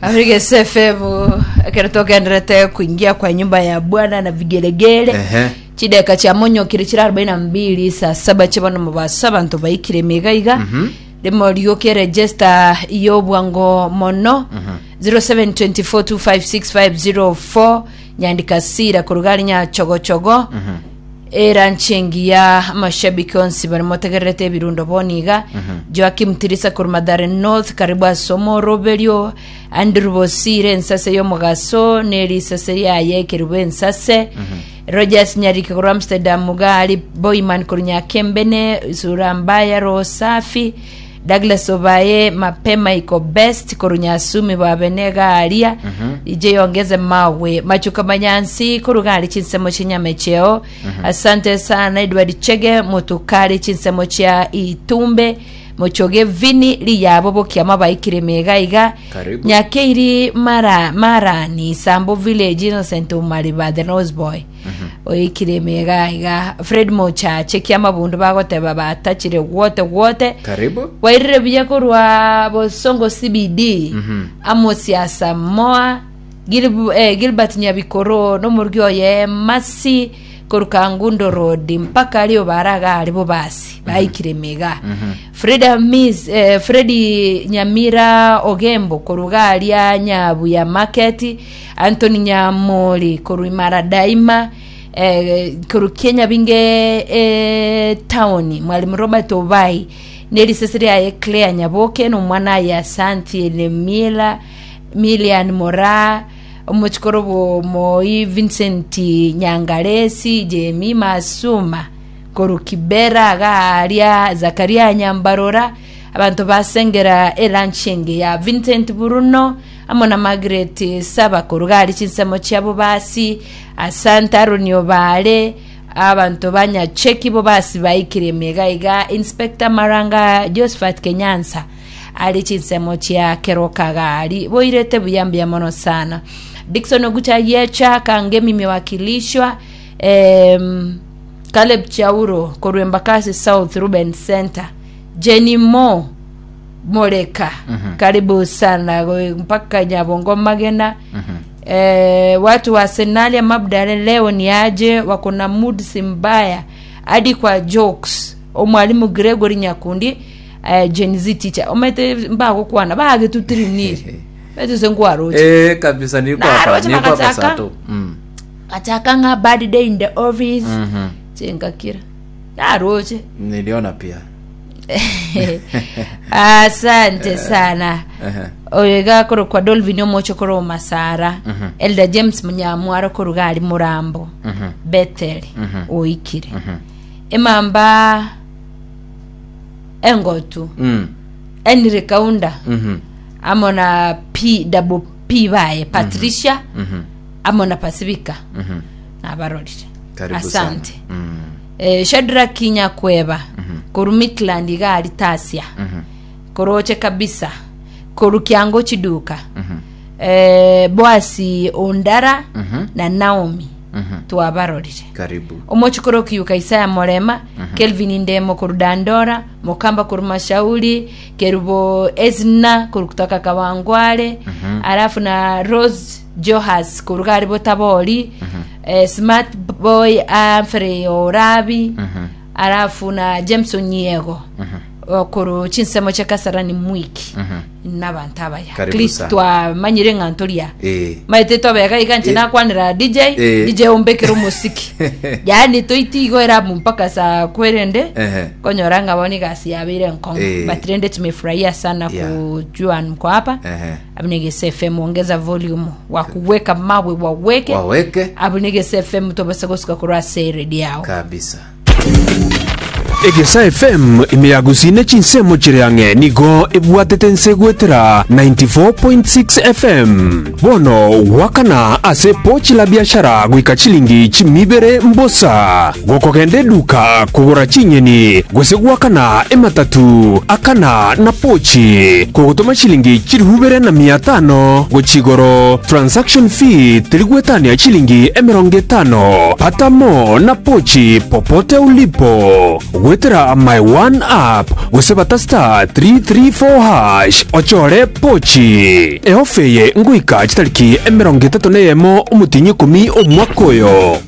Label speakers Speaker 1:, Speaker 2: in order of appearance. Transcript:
Speaker 1: Africa FM ekero togenderete kuingia kwa nyumba ya Bwana na vigelegele
Speaker 2: Ehe.
Speaker 1: chideka chia monyokire chira 42 saa saba chibano mobasa abanto baikire emiga iga rimo rioke register yobwango mono 0724256504 nyandika sira korugari nyachogochogo Eranchi engiya amashabiki onsi baria motegererete ebirundo bono iga Joakim Tirisa korwa Mathare North karibu ase omoroberio Andrew Bosire ensase y'omogaso ne risase riaye ekerubo ensase Rogers Nyarike korwa Amsterdam Gari Boyman korwa Nyakembene Sura Mbaya Roho Safi Douglas Obaye Mapema iko best korwa Nyasumi Babene Garia DJ ongeze mawe Machuka Manyansi korwa Gari chinsemo chinyamecheo Asante sana Edward Chege Mutukari chinsemo chia Itumbe Mochoge Vini Riyabo Bokiama baikire mega iga
Speaker 2: Karibu.
Speaker 1: Nyakeiri Mara Marani Sambo Village Innocent Omariba the Nose Boy oikire emega iga Fred Mochache kiamabundu bagoteba batachire gwote gwote
Speaker 2: Karibu.
Speaker 1: wairire buya korwa Bosongo CBD Amos Asamoah Gil, eh, Gilbert Nyabikoro nomorugi oye Masi korwa Kangundo Road mpaka aria obaraga are bobasi baikire emega Freda Miss eh, Fredi Nyamira Ogembo korwa garia Nyabuya Market Anthony Nyamori korwa Imara Daima eh, korwa Kianyabinge eh, town Mwalimu Robert Obai nerisese riaye Claire Nyaboke nomwana aye Asanti Lemila Milian Moraa omochikoro bw'omoi Vincent Nyangaresi Jemi Masuma korwa Kibera Gaaria Zakaria Nyambarora Abanto basengera eranchi engiya. Vincent Bruno amo na Margaret Saba koruga aria chinsemo chia Bobasi, Asante Aaron Obare, abanto ba Nyacheki Bobasi baikire emega iga, Inspector Maranga Josephat Kenyansa are chinsemo chia Keroka gari boirete buya mbuya mono sana. Dickson Ogucha Yecha Kangemi imewakilishwa em, Caleb Chauro korwa Embakasi South Ruben Center Jenny Mo Moreka karibu sana go- mpaka Nyabongo Magena eh, watu wa Arsenali Mabdale leo ni aje wako na mood si mbaya hadi kwa jokes omwalimu Gregory Nyakundi eh, Gen Z teacher omete mbagokwana bagetutirinire betuse nkwaroche
Speaker 2: Eh, kabisa nilikuwa hapa,
Speaker 1: Naroche
Speaker 2: nilikuwa hapa
Speaker 1: makachaka.
Speaker 2: saa tu. Mm.
Speaker 1: gachaka ng'a bad day in the office
Speaker 2: Mhm.
Speaker 1: chingakira naroche
Speaker 2: Niliona pia.
Speaker 1: asante sana
Speaker 2: Ehe.
Speaker 1: oyo iga akorokwa dolvin omoche korwa masara elder james munyamwaro koruga ari murambo bethel oikire emamba engotu
Speaker 2: Mm.
Speaker 1: henry kaunda
Speaker 2: Mhm.
Speaker 1: amo na p double p baye patricia amo na pacifica nabarorire
Speaker 2: Karibu
Speaker 1: asante
Speaker 2: sana. Mm.
Speaker 1: eh, Shadrack Nyakweba koru Midland iga ari Tasia koroche kabisa koru Kiango chiduka eh, Boasi Ondara na Naomi twabarorire
Speaker 2: Karibu.
Speaker 1: omochikoro kiyuka Isaya Morema Kelvin Ndemo koru Dandora Mokamba koru Mashauri Kerubo Esna koru kutoka Kawangware alafu na Rose Johas koruga ari Botabori eh, Smart Boy Humphrey Orabi alafu na James Onyiego koru chinsemo chia Kasarani Mwiki nabanto abaya
Speaker 2: Karibu
Speaker 1: At least
Speaker 2: sana.
Speaker 1: twamanyire ng'a ntoria
Speaker 2: Eh.
Speaker 1: maete twabeka iga nche
Speaker 2: Eh.
Speaker 1: nakwanera DJ
Speaker 2: Eh.
Speaker 1: DJ ombekere omosiki yaani toitigoera mpaka saa kwerende
Speaker 2: Ehe.
Speaker 1: konyora ng'a bono egasi yabeire enkong'u
Speaker 2: Eh.
Speaker 1: but rende tumefurahia sana
Speaker 2: Yeah.
Speaker 1: kujua mko hapa
Speaker 2: Ehe.
Speaker 1: abunegese fm ongeza volume wakuweka mawe waweke
Speaker 2: Waweke
Speaker 1: abunegese fm tobasa gosuka korwa ase radio yao
Speaker 2: kabisa.
Speaker 3: Egesa FM ime ya Gusii ne chinsemo chire ang'e nigo ebwatete nse goetera 94.6 FM. Bono gwakana ase pochi la biashara goika chilingi chimibere mbosa. Gokogenda eduka kogora chinyeni gose gwakana ematatu akana na pochi kogotoma chilingi chirihubere na mia tano gochia igoro transaction fee terigwetania chilingi emerongo etano. Pata mo na pochi popote ulipo. Goetera My One App gose bata *334# ochore pochi. Eofa eye ngoika chitariki 31 omotienyi ikomi omwaka oyo.